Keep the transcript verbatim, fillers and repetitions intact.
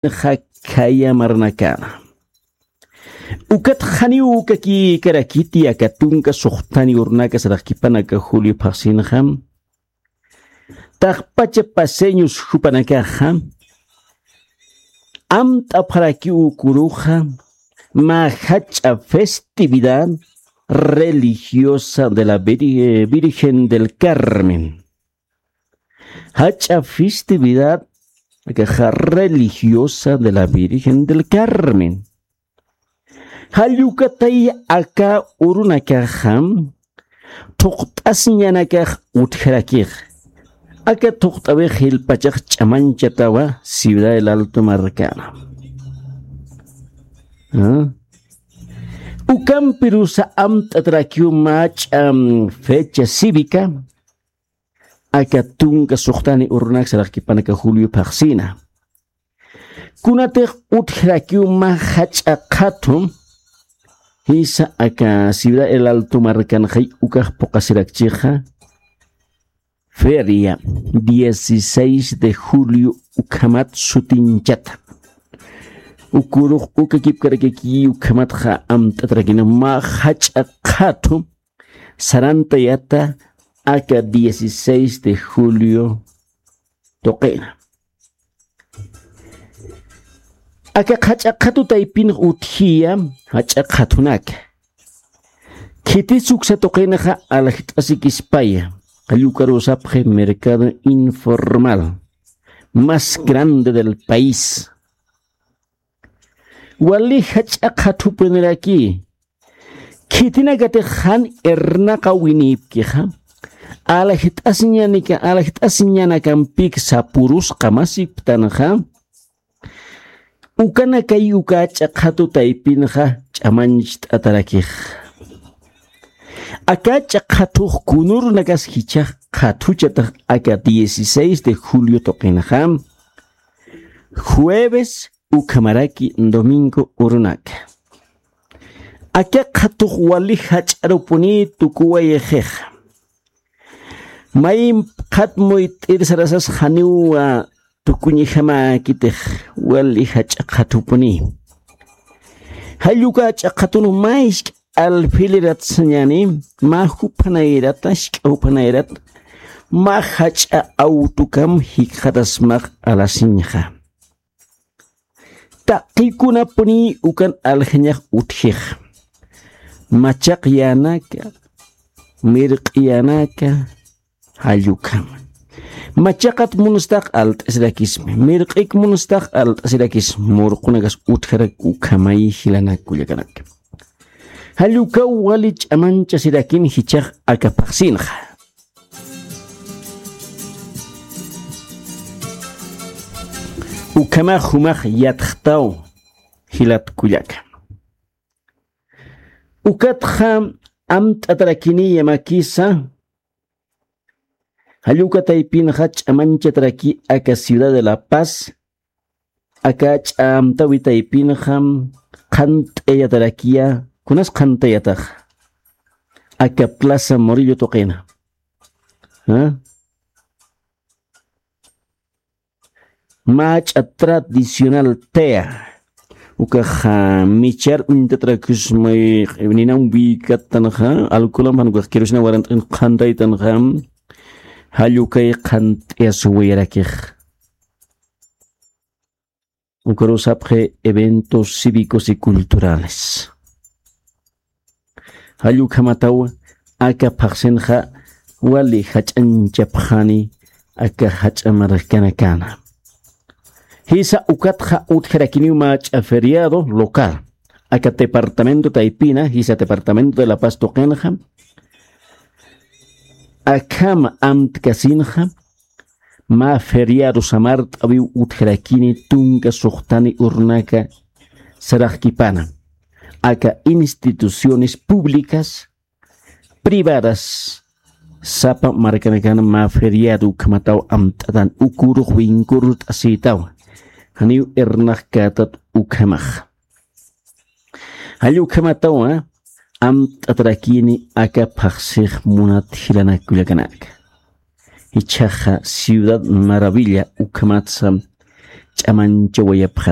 Jakhaya marnakana. Ukat janiw ukakïkarakiti aka tunka suxtani urunaka saraxkipanaka Julio phaxsinxa. Taqpacha paseños jupanakaxa amt'apxarakiw ukuruxa mä jach'a festividad religiosa de la Vir- Virgen del Carmen. Jach'a festividad akaxa religiosa de la Virgen del Carmen. Jallukatay aka urunakaxa thuqt'asiñanakax utjarakix. Aka thuqt'awix jilpachax ch'amañchatawa Ciudad del Alto markana. ¿Ah? Ukampirusa amt'atrakiw mach'a fecha cívica aka tunka suxtani urunak saraxkipanaka Julio phaxsina. Kunatix utjarakiw mä jach'a qhathu jisa aka Ciudad El Alto markanxay ukax puqasirakchixa feria dieciséis de julio ukhamat sutinchata. Ukurux ukakipkarakiki ukhamatxa amt'atarakina mä jach'a qhathu sarantayata aka dieciséis de julio tuqina. Aka jach'a qhatu taypin utjiya jach'a qhatunaka. Khitis uksa tuqinaxa aljt'asikispaya. Qallukarusapxi mercado informal más grande del país. Wali jach'a qhathupuniraki. Khitinakatix jan irnaqa winipkixa alaxt'asiñanika alaxt'asiñanakampik sapurusqa masiptanxa. Ukanakay uka ch'aqhatu taypinxa ch'amancht'atarakix. Aka ch'aqhatux kunurnakas jichhax qhathuchatax aka dieciséis de julio tuqinxa jueves ukhamaraki domingo urunaka. Aka qhatux wali jach'arupuni tukuwayxix. May qhat muyt'ir sarasas janiw tukuñjamäkitix wali jach'a qhatupuni. Jalluka ch'aqhatun mä isk'a alfilirat sañani mä juphanayrat isk'a juphanayrat mä jach'a awtukam jikxatasmax alasiñxa. Taqikunapuni ukan aljañax utjix. Machaq yänaka mirq'i yänaka jallukhama. Machaqat munstax alt'asirakismi mirq'ik munstax alt'asirakismi murqunakas utjarak ukhamay jilanak kullakanaka. Jallukaw wali ch'amanchasirakin jichhax aka phaxsinxa. Ukhamax jumax yatxtaw jilat kullaka. Ukatxa amt'atarakiniya makisa. Jalluka taypinxa ch'amanchataraki aka ciudad de la paz. Aka ch'amtawi taypinxa qhant'ayatarakiya. Kunas qhant'ayatax aka plaza morillo tuqina. Mach'a tradicional tea ukaxa michar uñtatrakismay ninam wikattanxa alcoholam jan ukax kirusina warant'in qhantaytanxa. Jallukay qhant'ayasuwayarakix. Ukarusapxi eventos cívicos y culturales. Jallukhamataw aka phaxsinxa wali jach'anchapxani aka jach'a markanakana. Jisa ukatxa utjarakiniw mach'a feriado local aka departamento taypina jisa departamento de la paz tuqinxa. Akhama amtkasinxa mä feriado samart'awiw utjarakini tunka suxtani urnaka saraxkipana aka instituciones públicas privadas sapa markanakan mä feriado ukhamataw amt'atan ukurux winkurt'asïtaw. Janiw irnaxkätat ukhamax. Jallukhamatawa amt'atarakini aka phaxsix munat jilanak kullakanaka. Jichhaxa ciudad maravilla ukhamatsa ch'amanchawayapxar